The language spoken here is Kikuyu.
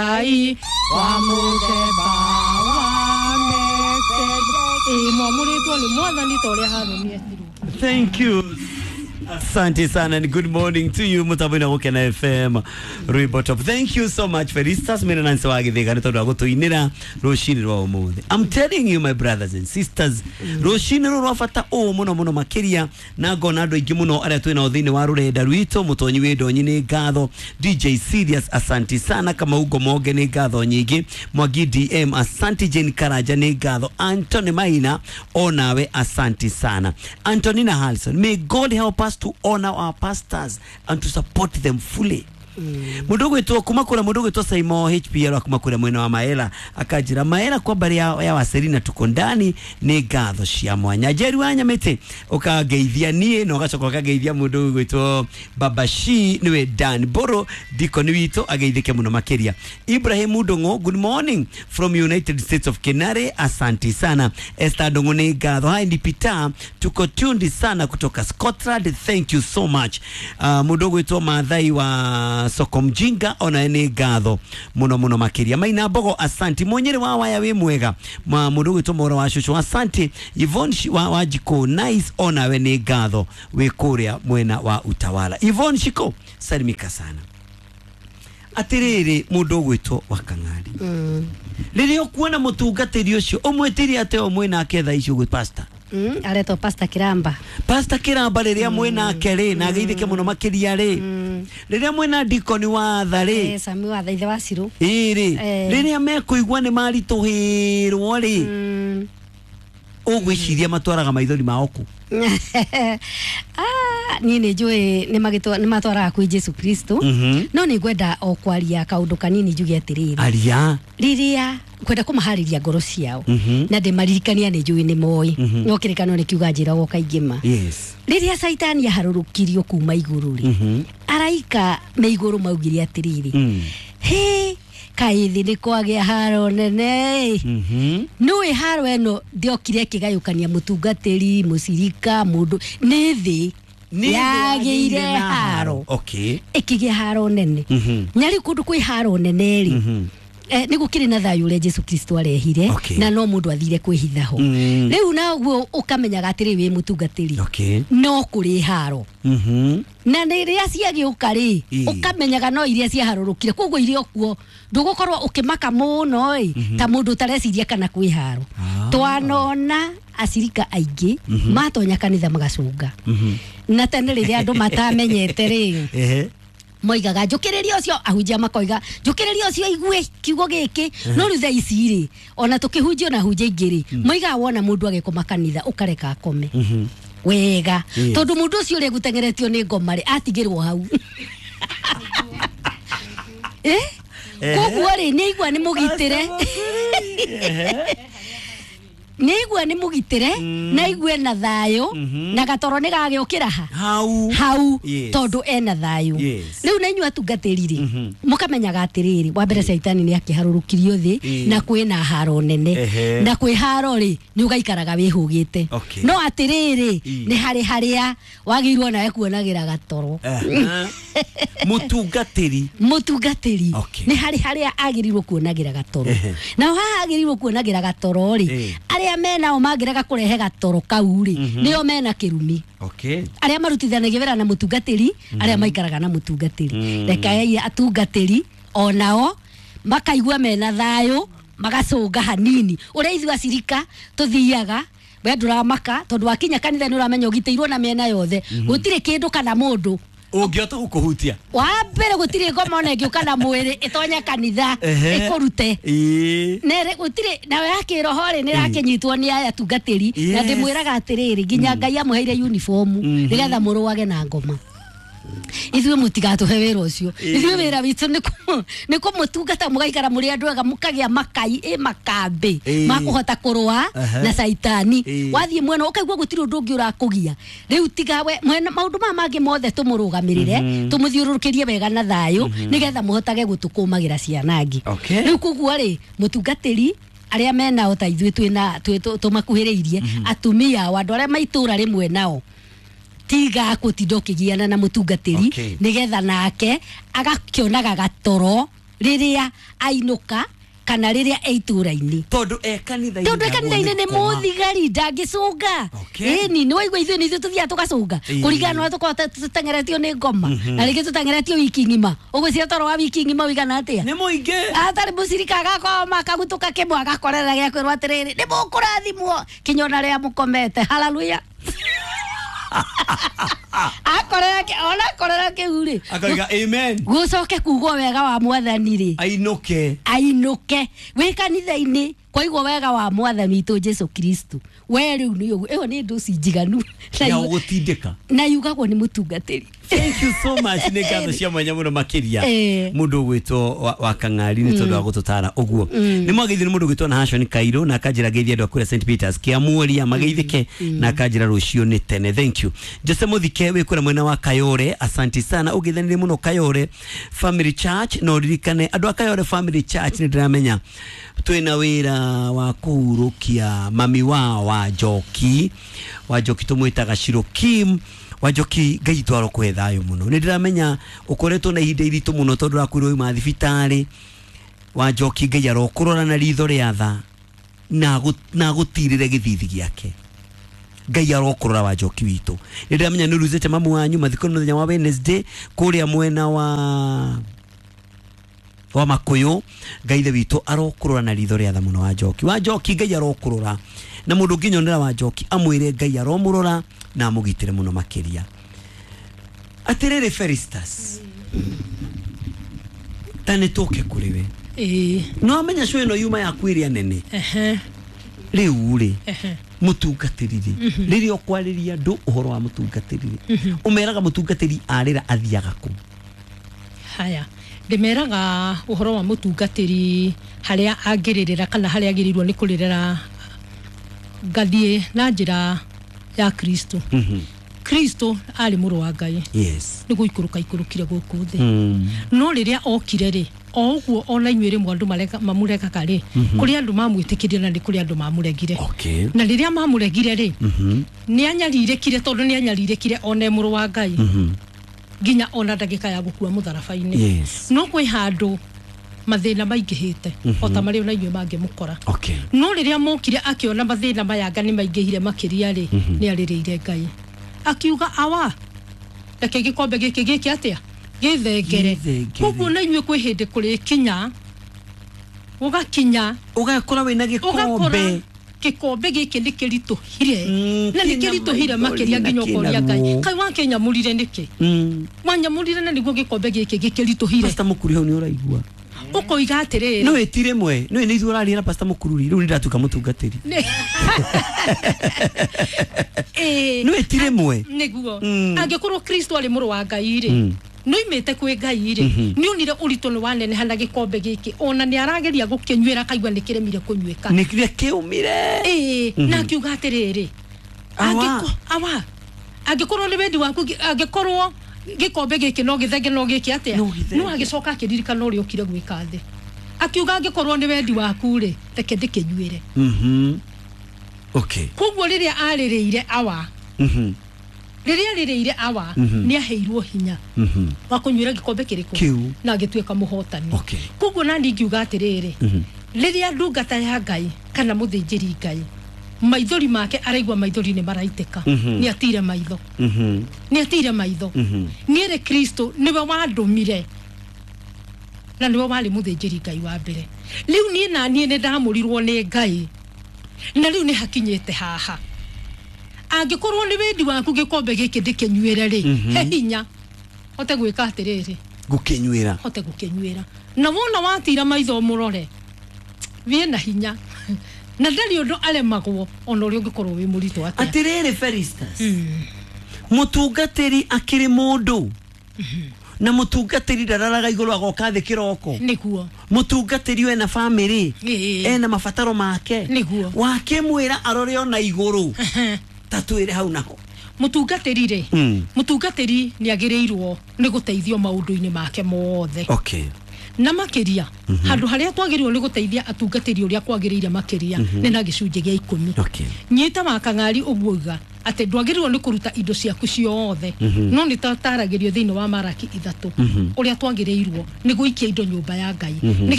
Ngai wa mũthemba wa Melkizedeki mwamũrĩtwo nĩ mwathani ta ũrĩa Harũni etirwo. Thank you. Asante sana and good morning to you mutambo-inĩ wa Gũkena FM Rwimbo Top. Thank you so much Felistas Mena Nancy wa Gĩthĩga nĩ tondũ wa gũtũinĩra rũcinĩ rwa ũmũthĩ. I'm telling you my brothers and sisters, rũcinĩ rũrũ rwa bata ũũ mũno mũno makĩria na ngona andũ aingĩ mũno arĩa twĩ nao thĩinĩ wa rũrenda rwitũ. Mũtonyi wĩ ndonyi nĩ ngatho, DJ Serious asanti sana, Kamau Ngomonge nĩ ngatho nyingĩ, Mwangi DM asanti, Jane Karanja nĩ ngatho, Anthony Maina onawe asanti sana, Antonina Harrison, may God help us to honor our pastors and to support them fully. Mundu gwitwo kuma kura mundu gwitwo Saimo HPL kuma kura mwena wa Maela akanjira Maela kwa mbari ya Waserina tuko ndani nĩ ngatho cia mwanya. Njeri wa Nyamĩtĩ ũkangeithia niĩ na ũgacoka ũkangeithia mũndũ gwitwo Baba Shi niwe Dan Boro dikoni witũ ageithĩke mũno makĩria. Ibrahim Ndung'u, good morning from United States of Kenare, asanti sana. Esther Ndung'u nĩ ngatho. Hi ni Peter, tuko tuned sana kutoka Scotland, thank you so much. Mũndũ gwitwo Mathai wa Soko Mjinga ona nĩ ngatho mũno mũno makĩria. Maina Mbogo asanti. Mũnyĩrĩ wa waya wĩ mwega. Mũndũ gwitwo Moro wa Cucu asanti. Yvonne wa Jiko nice onawe nĩ ngatho wĩ kũrĩa mwena wa Utawala. Yvonne Shiko salimika sana. Atirĩrĩ mũndũ ũgwĩtwo wa Kang'ari, rĩrĩa ũkuona mũtungatĩri ũcio ũmwĩtĩrie atĩ o mwĩnake thaa ici ũguo pastor? Aretwo Pastor Kiramba. Pastor Kiramba rĩrĩa mwĩnake rĩ na ageithĩke mũno makĩria rĩ, rĩrĩa mwĩna dikoni wa tha rĩ, Sami wa tha ithe wa Cirũ ĩ rĩ, rĩrĩa mekũigua nĩ maritũhĩrwo rĩ, ũgwĩciria matwaraga maithori mao kũ? Niĩ nĩ njũĩ nĩ matwaraga kwĩ Jesu Kristo, no nĩ ngwenda o kwaria kaũndũ kanini njuge atĩrĩrĩ. Aria. Rĩrĩa kwenda kũmaharĩria ngoro ciao na ndĩmaririkania nĩ njũĩ nĩ moĩ, no kĩrĩkanĩro nĩ kiuga njĩragwo kaingĩ ma. Rĩrĩa Caitani aharũrũkirio kuma igũrũ rĩ, araika me igũrũ maugire atĩrĩrĩ, hĩ kaĩ thĩ nĩ kwagĩa haro nene ĩ. Nĩũĩ haro ĩno ndĩokire ĩkĩgayũkania mũtungatĩri, mũcirika, mũndũ, nĩ thĩ yagĩire haro. Ĩkĩgĩa haro nene. Na rĩu kũndũ kwĩ haro nene rĩ, nĩ gũkĩrĩ na thayũ ũrĩa Jesu Kristo arehire, na no mũndũ athire kwĩhitha ho. Rĩu naguo ũkamenyaga atĩrĩ wĩ mũtungatĩri, no kũrĩ haro. Na rĩrĩa ciagĩũka rĩ, ũkamenyaga no iria ciaharũrũkire, koguo iria kuo ndũgũkorwo ũkĩmaka mũno ĩ, ta mũndũ ũtareciria kana kwĩ haro. Twanona acirika aingĩ matonya kanitha magacũnga. Na tene rĩrĩa andũ matamenyete rĩ, moigaga njũkĩrĩria ũcio, ahunjia makoiga njũkĩrĩria ũcio igue kiugo gĩkĩ. No rĩu thaa ici rĩ, ona tũkĩhunjio na ahunjia aingĩ rĩ, moigaga wona mũndũ agĩkoma kanitha ũkareka akome wega, tondũ mũndũ ũcio ũrĩa gũteng'eretio nĩ ngoma rĩ, atigĩrwo hau. Koguo rĩ, nĩ aigua nĩ mũgitĩre. Nĩ aigua nĩ mũgitĩre, na aigue na thayũ, na gatoro nĩ gagĩũkĩra ha? Hau. Hau, tondũ ena thayũ. Rĩu na inyuĩ atungatĩri rĩ, mũkamenyaga atĩrĩrĩ, wa mbere Caitani nĩ akĩharũrũkirio thĩ, na kwĩna haro nene. Na kwĩ haro rĩ, nĩ ũgaikaraga wĩhũgĩte. No atĩrĩrĩ, nĩ harĩ harĩa wagĩrĩirwo nawe kuonagĩra gatoro. Mũtungatĩri. Mũtungatĩri. Nĩ harĩ harĩa agĩrĩirwo kuonagĩra gatoro. Na haha agĩrĩirwo kuonagĩra gatoro rĩ, arĩa menao mangĩrega kũrehe gatoro kau rĩ, nĩo mena kĩrumi. Arĩa marutithanagia wĩra na mũtungatĩri, arĩa maikaraga na mũtungatĩri. Rekei atungatĩri onao makaigua mena thayũ, magacũnga hanini. Ũrĩa ithuĩ acirika tũthiaga, we ndũramaka tondũ wakinya kanitha nĩ ũramenya ũgitĩirwo na mĩena yothe. Gũtirĩ kĩndũ kana mũndũ ũngĩhota gũkũhutia. Wa mbere gũtirĩ ngoma ona ĩngĩũka na mwĩrĩ ĩtonye kanitha ĩkũrute. Nere gũtirĩ nawe ya kĩroho rĩ, nĩ ĩrakĩnyitwo nĩ aya atungatĩri. Na ndĩmwĩraga atĩrĩrĩ, nginya Ngai amũheire uniform nĩgetha mũrũage na ngoma. Ithuĩ mũtigatũhe wĩra ũcio. Ithuĩ wĩra witũ nĩ kũmũtungata mũgaikara mũrĩ andũ ega, mũkagĩa makai ĩ makambĩ makũhota kũrũa na Caitani. Wathiĩ mwena ũkaigua gũtirĩ ũndũ ũngĩ ũrakũgia. Rĩu tiga we mwena maũndũ maya mangĩ mothe tũmũrũgamĩrĩre, tũmũthiũrũrũkĩrie wega na thayũ, nĩgetha mũhotage gũtũkũmagĩra ciana angĩ. Rĩu koguo rĩ, mũtungatĩri arĩa menao ta ithuĩ twĩna tũmakuhĩrĩirie, atumia ao, andũ arĩa maitũra rĩmwe nao, tiga gũtinda ũkĩgiana na mũtungatĩri, nĩgetha nake agakĩonaga gatoro rĩrĩa ainũka kana rĩrĩa e itũra-inĩ. Tondũ e kanitha-inĩ. Tondũ e kanitha-inĩ nĩ mũthigari ndangĩcũnga. Ĩni nĩ waigua ithuĩ nĩ ithuĩ tũthiaga tũgacũnga kũringana na ũrĩa tũkoragwo tũteng'eretio nĩ ngoma na rĩngĩ tũteng'eretio wiki ng'ima. Ũgwĩciria toro wa wiki ng'ima ũigana atĩa? Nĩ mũingĩ. Atarĩ mũcirika agakoma akagutũka kĩmwe agakorera gĩa kwĩrwo atĩrĩrĩ nĩ mũkũrathimwo kinya ona rĩrĩa mũkomete. Haleluya. Akorera ona akorera kĩu rĩ akoiga amen. Gũcoke kugwo wega wa mwathani rĩ ainũke. Ainũke wĩ kanitha-inĩ kwaigwo wega wa mwathani witũ Jesu Kristo. We rĩu nĩ ũguo ĩyo nĩ ndũci njiganu ya gũgũtindĩka na yugagwo nĩ mũtungatĩri. Thank you so much. Nĩ ngatho cia mwanya mũno makĩria mũndũ ũgwĩtwo wa Kang'ari nĩ tondũ wa gũtũtara ũguo. Nĩ mwageithio nĩ mũndũ ũgwĩtwo na Hashon Kairo na akanjĩra ngeithie andũ a kũrĩa St Peters Kĩamuoria mageithĩke na akanjĩra rũciũ nĩ tene. Thank you. Jose Muthike wĩ kũrĩa mwena wa Kayore, asanti sana. Ũgeithanĩrie mũno Kayore Family Church na ũririkane andũ a Kayore Family Church nĩ ndĩramenya twĩna wĩra wa kũhurũkia mami wa Wanjoki. Wanjoki tũmwĩtaga Shirokim. Wanjoki Ngai twaro kũhe thayũ mũno. Nĩ ndĩramenya ũkoretwo na ihinda iritũ mũno tondũ ũrakuirwo uma thibitarĩ. Wanjoki Ngai arokũrora na ritho rĩa tha na agũtirĩre gĩthithi gĩake. Ngai arokũrora Wanjoki witũ. Nĩ ndĩramenya nĩ ũruzĩte mamu wanyu mathiko nĩ mũthenya wa Wednesday kũrĩa mwena wa Makuyu. Ngai ithe witũ arokũrora na ritho rĩa tha mũno Wanjoki. Wanjoki Ngai arokũrora na mũndũ ũngĩnyonera Wanjoki amwĩre Ngai aromũrora na amũgitĩre mũno makĩria. Atĩrĩrĩ Felistus, ta nĩ tũke kũrĩ we. No amenya cũ ĩno yuma yaku ĩrĩa nene. Rĩu rĩ mũtungatĩri rĩ rĩrĩa ũkwarĩria andũ ũhoro wa mũtungatĩri rĩ ũmeraga mũtungatĩri arĩra athiaga kũ? Haya, ndĩmeraga ũhoro wa mũtungatĩri harĩa angĩrĩrĩra kana harĩa agĩrĩirwo nĩ kũrĩrĩra ngathiĩ na njĩra ya Kristo. Kristo arĩ mũrũ wa Ngai. Yes. Nĩ gũikũrũka ikũrũkire gũkũ thĩ. No rĩrĩa okire rĩ o ũguo ona inyuĩ rĩmwe andũ mamũregaga rĩ kũrĩ andũ mamwĩtĩkĩrie na nĩ kũrĩ andũ mamũregire. Na rĩrĩa mamũregire rĩ nĩ anyarirĩkire tondũ nĩ anyarirĩkire one mũrũ wa Ngai nginya ona ndagĩka ya gũkua mũtharaba-inĩ. No kwĩ handũ mathĩna maingĩhĩte o ta marĩa ona inyuĩ mangĩmũkora. No rĩrĩa mokire akĩona mathĩna maya nga nĩ maingĩhire makĩria rĩ nĩ arĩrĩire Ngai akiuga awa reke gĩkombe gĩkĩ gĩke atĩa gĩthengere. Koguo na inyuĩ kwĩ hĩndĩ kũrĩkinya ũgakinya ũgakora wĩna gĩkombe gĩkombe gĩkĩ nĩ kĩritũhire na nĩ kĩritũhire makĩria nginya ũkoria Ngai kai wakĩnyamũrire nĩkĩ wanyamũrire na nĩguo gĩkombe gĩkĩ gĩkĩritũhire. Pastor Mũkuru hau nĩ ũraigua ũkoiga atĩrĩrĩ no ĩti rĩmwe no nĩ ithuĩ ũraria na Pastor Mũkuru rĩu nĩ ndatuĩka mũtungatĩri. No ĩti rĩmwe nĩguo angĩkorwo Kristo arĩ mũrũ wa Ngai rĩ noimĩte kwĩ Ngai rĩ nĩ onire ũritũ nĩ waneneha na gĩkombe gĩkĩ ona nĩ arageria gũkĩnyuĩra akaigua nĩ kĩremire kũnyuĩka nĩ kĩrĩa kĩũmire. Na akiuga atĩrĩrĩ awa angĩkorwo nĩ wendi waku angĩkorwo gĩkombe gĩkĩ no gĩthenge no gĩke atĩa no agĩcoka akĩririkana ũrĩa ũkire gwĩka thĩ akiuga angĩkorwo nĩ wendi waku rĩ reke ndĩkĩnyuĩre. Okay. Koguo rĩrĩa arĩrĩire awa rĩrĩa arĩrĩire awa nĩ aheirwo hinya wa kũnyuĩra gĩkombe kĩrĩkũ na agĩtuĩka mũhotani. Koguo na niĩ ingiuga atĩrĩrĩ rĩrĩa ndungata ya Ngai kana mũthĩnjĩri Ngai maithori make araigua maithori nĩ maraitĩka nĩ atire maitho nĩ atire maitho nĩ ere Kristo nĩwe wandũmire na nĩwe warĩ mũthĩnjĩri Ngai wa mbere. Rĩu niĩ na niĩ nĩ ndamũrirwo nĩ Ngai na rĩu nĩ hakinyĩte haha angĩkorwo nĩ wendi waku gĩkombe gĩkĩ ndĩkĩnyuĩre rĩ he hinya hote gwĩka atĩrĩrĩ gũkĩnyuĩra hote gũkĩnyuĩra na wona watira maitho mũrore wĩ na hinya na ndarĩ ũndũ aremagwo ona ũrĩa ũngĩkorwo wĩ mũritũ atĩa. Atĩrĩrĩ Felistus, mũtungatĩri akĩrĩ mũndũ na mũtungatĩri ndararaga igũrũ agoka thĩ kĩroko nĩguo mũtungatĩri ena family ena mabataro make nĩguo wakĩmwĩra arore ona igũrũ tatwĩre hau naho. Mũtungatĩri rĩ mũtungatĩri nĩ agĩrĩirwo nĩ gũteithio maũndũ-inĩ make mothe. Na makĩria handũ harĩa twagĩrĩirwo nĩ gũteithia atungatĩri ũrĩa kwagĩrĩire makĩria nĩ na gĩcunjĩ gĩa 10. Nyita wa Kang'ari ũguo uga Atĩ ndwagĩrĩirwo nĩ kũruta indo ciaku ciothe, no nĩ tataragĩrio thĩinĩ wa Maraki 3 ũrĩa twagĩrĩirwo nĩ gũikia indo nyũmba ya Ngai nĩgetha